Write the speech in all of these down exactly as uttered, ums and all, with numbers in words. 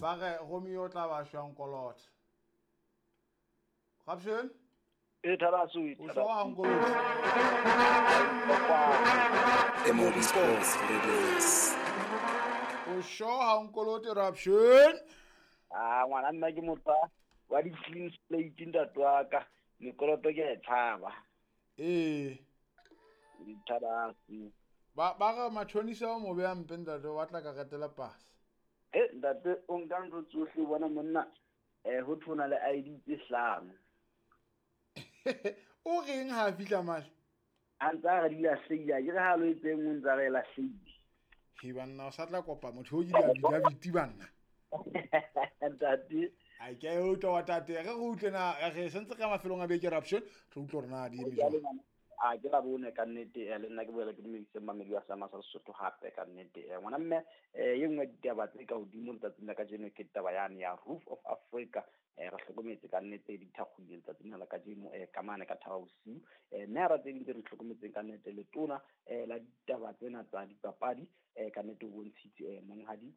Ba re Romeo o tla ba shwang kolota. Raption? E tharaso O sure ha nkolota? M O B Sports Radio. O sure ha nkolote Raption? Ah, ngwana nna ke motho wa di clean slate ntate wa ka. Mekoloto ke e tshaba. Eh. Tharaso. Ba ba re matshonisa o mo beha mpe ntate wa tla ka retela pasa. Eh ntate o nka ntho tsohle bona monna eh ho thona le I D tse hlano. O reng ha fihla male? A ntsa re di lahleile, ke re ha lo etseng o ntsa re lahleile. He banna o sa tla kopa motho o ile a bida banna. Ntate ai ke o utlwa wa tate re re utlwe na re sentse ka mafelong a beke Raption re utlwe rona di eme jwang. A ke la bone ka nnete le nna ke boela ke dumedise mamedi wa Sama sa Sesotho hape ka nnete. Ngwana mme e nngwe ditaba tse ka hodimo letsatsing la kajeno ke taba yane ya Roof of Africa. Re hlokometse ka nnete di thakgolile letsatsing la kajeno ka mane ka thaba bosiu. Mme ha ra tse ding tse re hlokometseng ka nnete letona la ditaba tsena tsa dipapadi ka nnete o bontshitse monghadi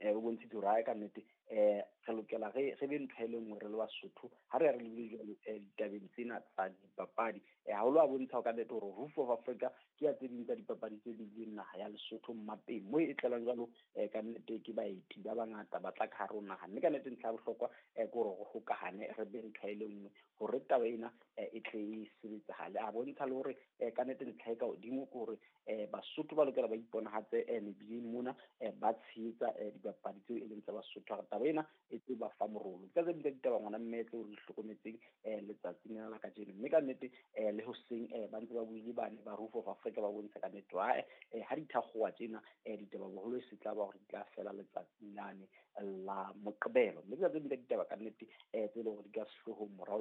o bontshitse hore hae ka nnete eh re lokela re re be ntho e le nngwe re le Basotho ha re ya re lebile jwalo ditabeng tsena tsa dipapadi. Haholo a bontsha ka nnete hore Roof of Africa ke ya tse ding tsa dipapadi tse bileng naha ya Lesotho mmapeng mo e tlelang jwalo ka nnete ke baeti ba bangata ba tla ka hare ho naha. Mme ka nnete ntlha ya bohlokwa ke hore re hokahane re be ntho e le nngwe hore taba ena e tle e sebetsahale. A bontsha le hore ka nnete ntlha e ka hodimo ke hore Basotho ba lokela ba iponahatse mebileng mona ba tshehetsa dipapadi tseo e leng tsa Basotho. Taba ena e tse ba fa morolo ka tse ding tsa ditaba ngwana mme tseo re hlokometseng letsatsing la kajeno. Mme ka nnete le hoseng ba ntse ba buile bane ba Roof of Africa ba bontsha ka nnete ha ha di thakgowa tjena ditaba boholo e se tla ba hore di tla fela letsatsing lane la Moqebelo. Mme ka tse ding tsa ditaba ka nnete tse leng hore di ka sehloohong morao.